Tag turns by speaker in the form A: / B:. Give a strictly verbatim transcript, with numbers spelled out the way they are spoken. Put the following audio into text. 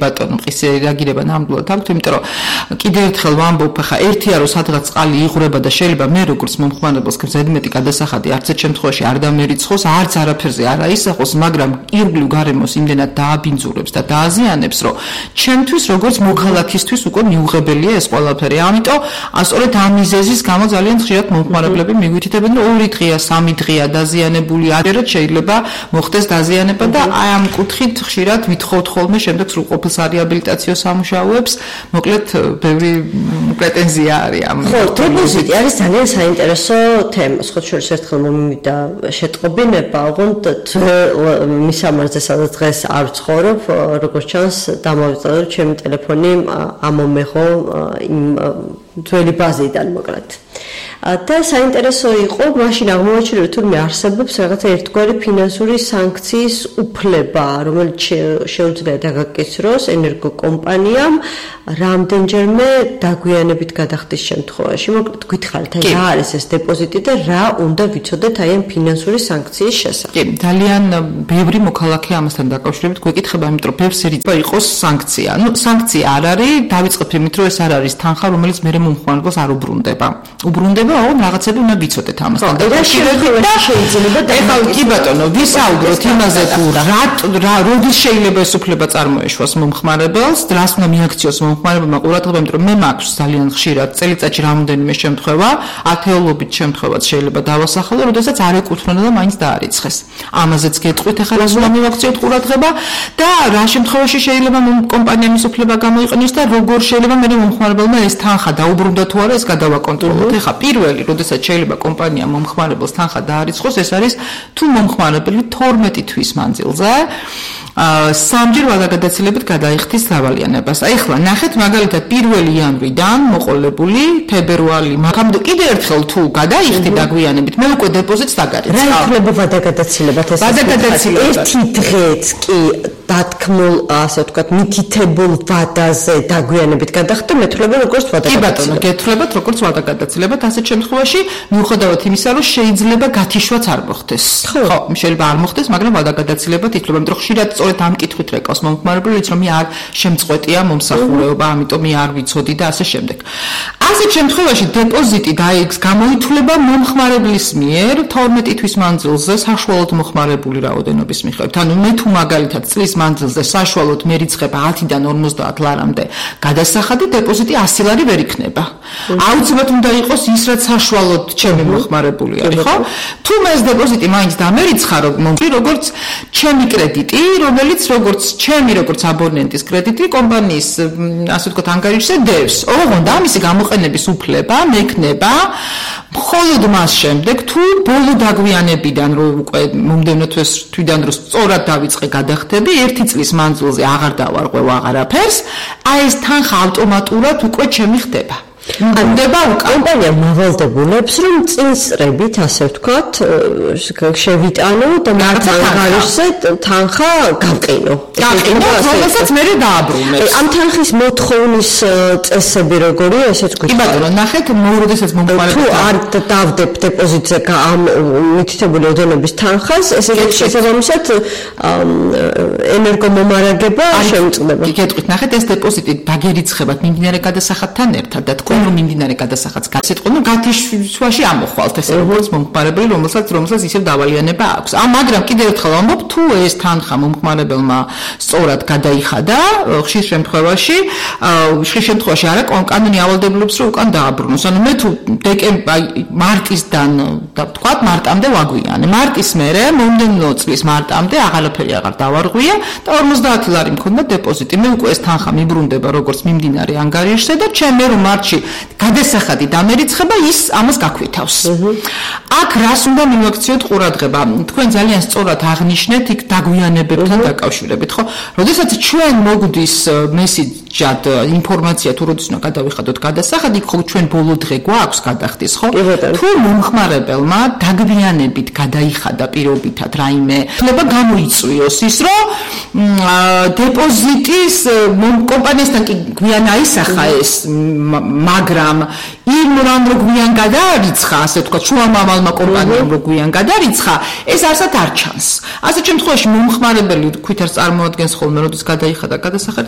A: ბატონო, მყისი რეაგირება ნამდვილად აქვს, იმიტომ რომ კიდევ ერთხელ ვამბობ, ხა ერთია რომ სადღაც წყალი იღვრება და შეიძლება მე როგორც მომხმარებელს გზადმეტი გადასახადი არც ერთ შემთხვევაში არ დამერიცხოს, არც არაფერზე არ აისახოს, მაგრამ ირგვლივ გარემოს იმდენად დააბინძურებს და დააზიანებს, რომ ჩემთვის როგორც მოქალაქისთვის უკვე მიუღებელია ეს ყველაფერი. ამიტომ სწორედ ამ მიზეზის გამო ძალიან ხშირად მომხმარებლები მიგვითითებენ, რომ ორი დღეა, სამი დღეა დაზიანებული, ადერად შეიძლება მოხდეს დაზიანება და აი ამ კუთხით ხშირად ვითხოვთ ხოლმე შემდეგ სრულყოფილ სარეაბილიტაციო სამუშაოებს, მოკლედ ბევრი პრეტენზია არის ამ.
B: ხო, დეპოზიტი არის ძალიან საინტერესო თემა. სხვა შორის ერთხელ მომივიდა შეტყობინება, ოღონდ მისამართზე სადაც დღეს არ ვცხოვრობ, როგორც ჩანს, დამავიწყდა ჩემი ტელეფონი ამომეღო იმ ძველი ბაზიდან მოკლედ. და საინტერესო იყო, მაშინ აღმოაჩინა, რომ თურმე არსებობს რაღაცა ერთგვარი ფინანსური სანქციის უფლება, რომელიც შეუძლია დაგაკისროს ენერგოკომპანიამ რამდენჯერმე დაგვიანებით გადახდის შემთხვევაში. მოკლედ გითხარით, აი რა არის ეს დეპოზიტი და რა უნდა ვიცოდეთ აი ამ ფინანსური სანქციის შესახებ.
A: კი, ძალიან ბევრი მოქალაქე ამასთან დაკავშირებით გვეკითხება, იმიტომ რომ ბევრს ერითხება იყოს სანქცია. ნუ სანქცია არ არის, დავიწყებ იმით, რომ ეს არ არის თანხა, რომელიც მე მომხმარებელს არ უბრუნდება. უბრუნდება ოღონდ რაღაცები უნდა ვიცოდეთ ამასთან
B: დაკავშირებით და შეიძლება
A: ეხლა კი ბატონო ვისაუბროთ იმაზე თუ რა როდის შეიძლება ეს უფლება წარმოეშვას მომხმარებელს, რას უნდა მიაქციოს მომხმარებელმა ყურადღება, იმიტომ რომ მე მაქვს ძალიან ხშირად წელიწადში რამოდენიმე შემთხვევა, ათეულობით შემთხვევაც შეიძლება დავასახელო, როდესაც არ ეკუთვნება და მაინც დაარიცხეს. ამაზეც გეტყვით ახლა რას უნდა მივაქციოთ ყურადღება და რა შემთხვევაში შეიძლება კომპანიამ ის უფლება გამოიყენოს და როგორ შეიძლება მე მომხმარებელმა ეს თანხა დაუბრუნდა თუ არა ეს გადავაკონტროლოთ. ეხლა პირველი, როდესაც შეიძლება კომპანია მომხმარებელს თანხა დაარიცხოს, ეს არის თუ მომხმარებელი თორმეტი თვის მანძილზე სამჯერ ვადაგადაცილებით გადაიხდის დავალიანებას. ეხლა ნახეთ მაგალითად პირველი იანვრიდან მოყოლებული თებერვალი, მაგრამ კიდევ ერთხელ თუ გადაიხდი დაგვიანებით, მე უკვე დეპოზიტს დაგარიცხავ.
B: რა იქნება ვადაგადაცილებად ეს?
A: ვადაგადაცილებად
B: ერთი დღეც კი დათქმულ, ასე ვთქვათ, მითითებულ ვადაზე დაგვიანებით გადახდა, მეთვლება როგორც ვადაგადაცილება.
A: კი ბატონო, გეთვლებათ როგორც ვადაგადაცილებად, ასეთ შემთხვევაში მიუხედავად იმისა, რომ შეიძლება გათიშვაც არ მოხდეს. ხო, შეიძლება არ მოხდეს, მაგრამ ვადაგადაცილებად ითვლება, იმიტომ რომ ხშირად სწორედ ამ კითხვით რეკავს მომხმარებელიც, რომ მე არ შემწყვეტია მომსახურება, ამიტომ მე არ ვიცოდი და ასე შემდეგ. ასეთ შემთხვევაში დეპოზიტი დაიქს გამოითვლება მომხმარებლის მიერ თორმეტი თვის მანძილზე საშუალოდ მოხმარებული რაოდენობის მიხედვით. ანუ მე თუ მაგალითად წლის მანძილზე საშუალოდ მერიცხება ათიდან ორმოცდაათ ლარამდე გადასახადი, დეპოზიტი ასი ლარი ვერ იქნება. აუცილებლად უნდა იყოს ის, რაც საშუალოდ ჩემი მოხმარებული არის, ხო? თუ მე ეს დეპოზიტი მაინც დამერიცხა, როგორც ჩემი კრედიტი, რომელიც როგორც ჩემი როგორც აბონენტის კრედიტი კომპანიის, ასე ვთქვათ, ანგარიშზე დევს. ოღონდ ამისი გამოყენების უფლება მექნება მხოლოდ მას შემდეგ, თუ ბოლო დაგვიანებიდან, რომ უკვე მომდევნო თვიდან რომ სწორად დავიწყე გადახდები, ერთი წლის მანძილზე აღარ დავარღვევ აღარაფერს, აი ეს თანხა ავტომატურად უკვე ჩემი ხდება.
B: ანდება კომპანია მავალდებულებს, რომ წინსწრებით, ასე ვთქვათ, შევიტანო და მათ ანგარიშზე თანხა გავყინო.
A: გავყინო, რომელსაც მე დააბრუნებს.
B: ამ თანხის მოთხოვნის წესები როგორია, ესეც გითხრათ.
A: კი ბატონო, ნახეთ, როდესაც მომხმარებელი
B: თუ არ დავდებ დეპოზიტზე ამ მითითებული ოდენობის თანხას, ესე შესაბამისად ენერგომომარაგება შემწყდება.
A: გეტყვით, ნახეთ, ეს დეპოზიტი დაგერიცხებათ მიმდინარე გადასახადთან ერთად და თქვენ რომ მიმდინარე გადასახადს გასიტყვენ, რომ გათიშვაში ამოხვალთ ეს როგორც მომხმარებელი, რომელსაც რომელსაც ისევ დავალიანება აქვს. ამ მაგრამ კიდევ ერთხელ ვამბობ, თუ ეს თანხა მომხმარებელმა სწორად გადაიხადა, ხშირ შემთხვევაში, ხშირ შემთხვევაში არა კანონი ავალდებულებს, რომ უკან დააბრუნოს. ანუ მე თუ დეკემბერ მარტისდან და ვთქვათ, მარტამდე ვაგვიანე. მარტის მერე მომდევნო წლის მარტამდე აღარაფერი აღარ დავარღვია და ორმოცდაათი ლარი მქონდა დეპოზიტი. მე უკვე ეს თანხა მიბრუნდება როგორც მიმდინარე ანგარიშზე და ჩემ რომ მარტში გადასახადი დამერიცხება, ის ამას გაქვითავს. აქ რას უნდა მივაქციოთ ყურადღება? თქვენ ძალიან სწორად აღნიშნეთ იქ დაგვიანებებთან დაკავშირებით, ხო? როდესაც ჩვენ მოგვდის მესიჯად ინფორმაცია თუ როდის უნდა გადავიხადოთ გადასახადი, იქ ხო ჩვენ ბოლო დღე გვაქვს გადახდის, ხო? თუ მომხმარებელმა დაგვიანებით გადაიხადა პირობითად რაიმე, შეიძლება გამოიწვიოს ის, რომ დეპოზიტის კომპანიასთან კი გვიან აისახა ეს, მაგრამ იმ რამ რო გვიან გადაარიცხა, ასე ვთქვათ, შუამავალმა კომპანიამ რო გვიან გადარიცხა, ეს არსად არ ჩანს. ასეთ შემთხვევაში მომხმარებელი თვითონ წარმოადგენს ხოლმე, როდის გადაიხადა გადასახადი